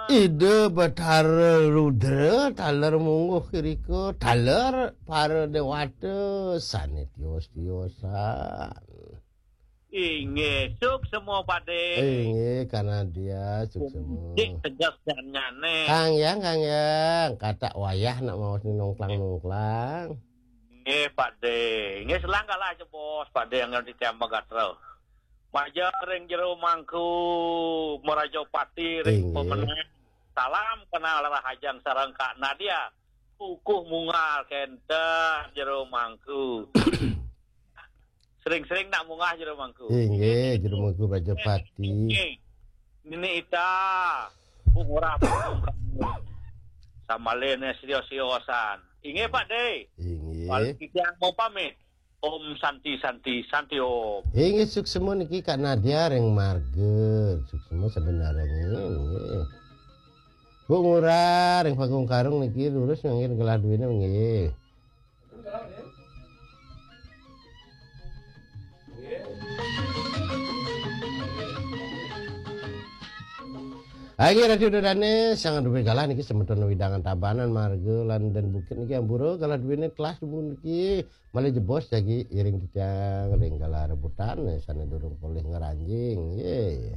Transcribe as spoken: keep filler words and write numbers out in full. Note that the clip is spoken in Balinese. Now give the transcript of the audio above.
Ida Batara Rudra taler mungguh irika, taler para dewata sane tios-tiosan. Inggih, suksma, Pakde. Inggih, Kang Nadia, suksma. Cik tegas dan nyane. Kang Yang, Kang Yang, katak wayah nak maos ni nongklang-nongklang. Inggih, Pakde. Inggih, selang galah jebos, Pakde, yang ngerti tiang magatra. Maja ring jero mangku, Maraja Pati ring Inggih. Pemenang. Salam kenal Rahajeng sareng Kak Nadia. Kukuh mungal kenten jero mangku. Sering-sering nak munggah jero mangku. Inggih, jero mangku Raja Pati. Inggih. Nini Ita, Bu Ngurah, Bu Ngurah. Sambalin sio-siosan. Inggih, Pakde. Inggih. Paling titiang mau pamit. Om Santi, Santi, Santi Om. Inggih, suksma niki Kak Nadia ring marga. Suksma sebenarnya, inggih. Bu Ngurah ring Panggung Karung niki lurus nganggé gelah duwene, nggih. Ayo, Radio Dodane, sang duwe galah niki semeton wewidangan Tabanan, Marga lan Den Bukit niki ampura galah duwene telas dumun niki malih jebos jagi iring titiang ring galah rebutan sane durung polih ngranjing. Nggih.